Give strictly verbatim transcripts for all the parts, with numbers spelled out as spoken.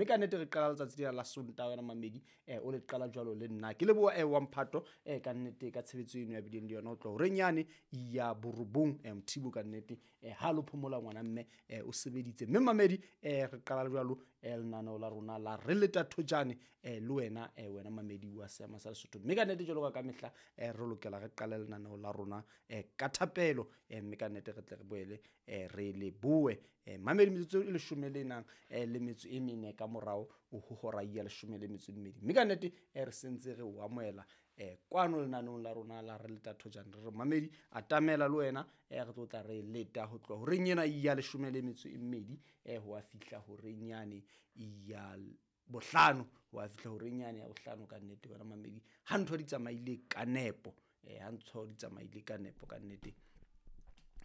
Mme ka nnete re qala letsatsi lena la Sontaha wena mamedi, eh, o le qala jwalo le nna. Ke leboha eh, wa mphato eh, ka nnete ka tshebetso eno ya bileng le yona ho tloha horeng yane ya borobong eh, Mothibo ka nnete eh, ha lo phomola ngwana mme eh, o sebeditse. Mme mamedi eh, re qala jwalo eh, lenaneo la rona la re leta thojane eh, le wena eh, wena mamedi wa seama sa Lesotho. Mme ka nnete jwalo ka ka mehla eh, re lokela re qale lenaneo la rona eh, ka thapelo eh, mme ka nnete re tle re boele eh, re leboe eh, mamedi metsotso e leshome le nang eh, le metso e mene ka morao ho hora ya leshome le metso e mmedi. Mme ka nnete eh, re sentse re o amohela eh, kwano lenaneong la rona la re leta thojane. Re re mamedi atamela le wena eh, re tlo tla re leta ho tloha horeng ena ya leshome le metso e mmedi eh, ho a fihla horeng yane ya bohlano, ho a fihla horeng yane ya bohlano ka nnete wena mamedi ha ntho di tsamaile ka nepo eh, ha ntho di tsamaile ka nepo ka nnete.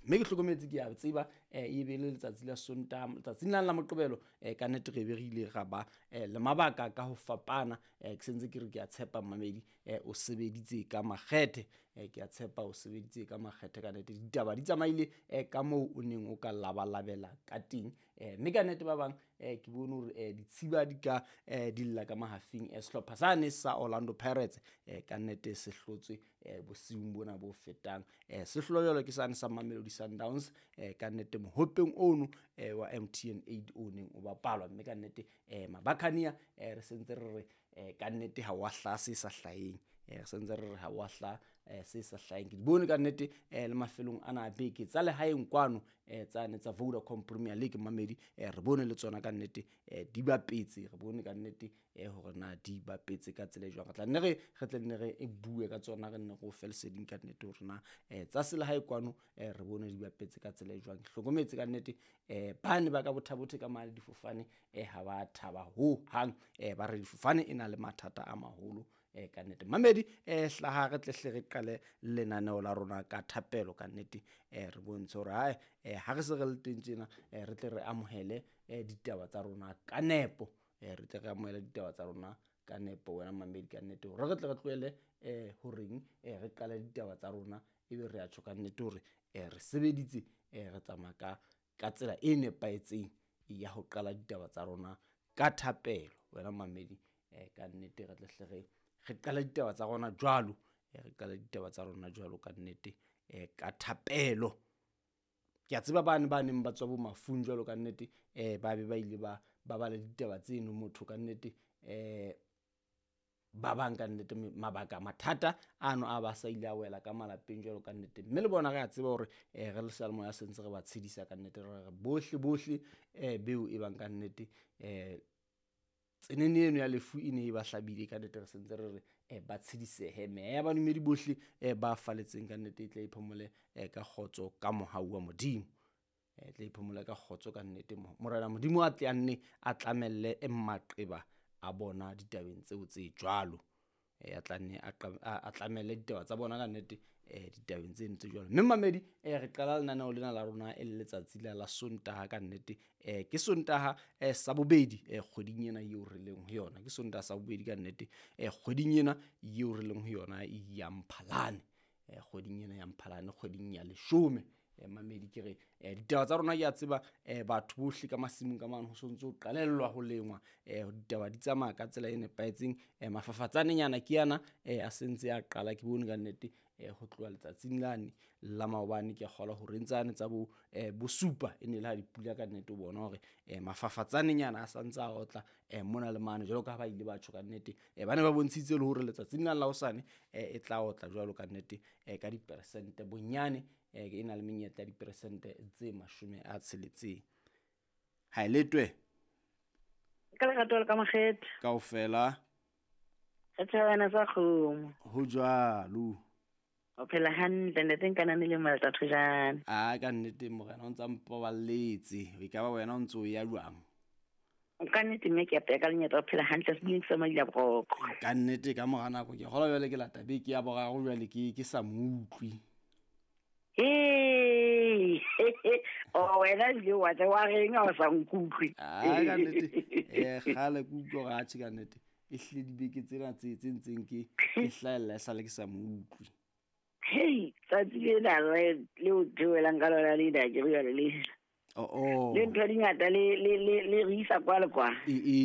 Mme ke hlokometse ke a tseba eh, e be le letsatsi la Sontaha, letsatsing lane la Moqebelo eh, ka nnete re be re ile ra ba eh, le mabaka ka ho fapana eh, ke sentse ke re ke a tshepa mamedi eh, o sebeditse ka makgethe eh, ke a tshepa o sebeditse ka makgethe ka nnete. Ditaba di tsamaile eh, ka moo o neng o ka labalabela ka teng eh, mme ka nnete ba bang eh, ke bone hore eh, ditshiba di ka eh, di lla ka mahafing eh, sehlopha sane sa Orlando Pirates eh, ka nnete se hlotswe eh, bosiung bona bo fetang eh, se hlolwa jwalo ke sane sa Mamelodi Sundowns eh, ka nnete mohopeng ono eh, wa M T N eight o neng o bapalwa. Mme ka nnete eh, Mabakania eh, re sentse re re eh, ka nnete ha wa hlaha se sa hlaheng eh, re sentse re re ha wa hlaha eh, se sa hlaheng. Ke di bone ka nnete eh, le mafelong ana a beke tsa lehaeng kwano eh, tsane tsa Vodacom Premier League mamedi eh, re bone le tsona ka nnete eh, di bapetse, re bone ka nnete eh, hore na di bapetse ka tsela e jwang. Re tla nne re, re tle nne re e bue ka tsona, re nne re o fe leseding ka nnete hore na eh, tsa selehae kwano eh, re bone di bapetse ka tsela e jwang. Ke hlokometse ka nnete eh, bane ba ka bothabothe ka mane difofane eh, ha ba thaba ho hang eh, ba re difofane e na le mathata a maholo eh, ka nnete. Mamedi eh, hlaha re tle hle re qale lenaneo la rona ka thapelo ka nnete eh, re bontshe hore hae eh, ha re se re le teng tjena eh, re tle re amohele eh, ditaba tsa rona ka nepo eh, re tle re amohele ditaba tsa rona ka nepo wena mamedi ka nnete hore re tle re tlohele eh, horeng eh, re qale ditaba tsa rona ebe re a tjho ka nnete hore eh, re sebeditse eh, re tsamaya ka, ka tsela e nepahetseng ya ho qala ditaba tsa rona ka thapelo wena mamedi eh, ka nnete re tle hle re, re qale ditaba tsa rona jwalo eh, re qale ditaba tsa rona jwalo ka nnete eh, ka thapelo. Ke a tseba bane ba neng ba tswa bo mafung jwalo ka nnete eh, ba be ba ile ba, ba ba le ditaba tseno motho ka nnete eh, ba bang ka nnete mabaka mathata ano a ba sa ile a wela ka malapeng jwalo ka nnete. Mme le bona re a tseba hore eh, re le seyalemoya se ntse re ba tshedisa ka nnete, re re bohle bohle eh, beo e bang ka nnete eh, tsenene eno ya lefu e ne e ba hlabile ka nnete, re sentse re re eh, ba tshedisehe. Meya ya badumedi bohle eh, ba faletseng ka nnete e tle e phomole eh, ka kgotso ka mohau wa Modimo eh, tle e phomole ka kgotso ka nnete. Morena Modimo a tle a nne a tlamelle e maqeba a bona ditabeng tseo tse jwalo eh, a tla nne a qa-, a, a tlamelle ditaba tsa bona ka nnete eh, ditabeng tseno tse jwalo. Mme mamedi eh, re qala lenaneo lena la rona e le letsatsi la la Sontaha ka nnete eh, ke Sontaha eh, sa bobedi eh, kgweding ena eo re leng ho yona, ke Sontaha sa bobedi ka nnete eh, kgweding ena eo re leng ho yona ya Mphalane eh, kgweding ena ya Mphalane, kgweding ya leshome eh, mamedi ke re eh, ditaba tsa rona ke a tseba eh, batho bohle ka masimong ka mane ho sontse ho qalellwa ho lengwa eh, ditaba di tsamaya ka tsela e nepahetseng eh, mafafatsanenyana ke yana eh, a sentse a qala. Ke bone ka nnete eh, ho tloha letsatsing lane la maobane ke a kgolwa hore ntsane tsa bo, eh, bosupa e ne le ha dipula ka nnete o bona hore eh, mafafatsanenyana a santse a otla eh, mona le mane jwalo ka ha ba ile ba tjho ka nnete eh, ba ne ba bontshitse le hore letsatsing lane la hosane eh, e tla otla jwalo ka nnete eh, ka diperesente bonyane eh, e na le menyetla ya diperesente tse mashome a tsheletseng. Ha e letwe? Ka lerato le ka makgethe. Kaofela. Re thabana sa kgomo. Ho jwalo. O phela hantle ntate Nkanane le Malta Thojane. Ah, ka nnete morena o ntsa mpaballetse. E ka ba wena o ntso o ya jwang? Ka nnete mme ke a peka lenyatsa o phela hantle, se bile ke sa madila boroko. Ka nnete ka mora nako ke kgolwa jwale ke lata beke ya boraro jwale ke, ke sa mo utlwe. Hey, oh, wena ebile wa tla wa reng ha o sa nkutlwe? Ah, ka nnete. Eh, kgale ke utlwa hore atjhe ka nnete. E hlile dibeke tsena tse, tse ntseng ke, ke hlahella esale ke sa mo utlwe. Hei, tsatsi lena le, le o theohelang ka lona lena, ke re jwale le. Oh, oh. Le ntho di ngata le, le, le, le re isa kwa le kwa. E, e.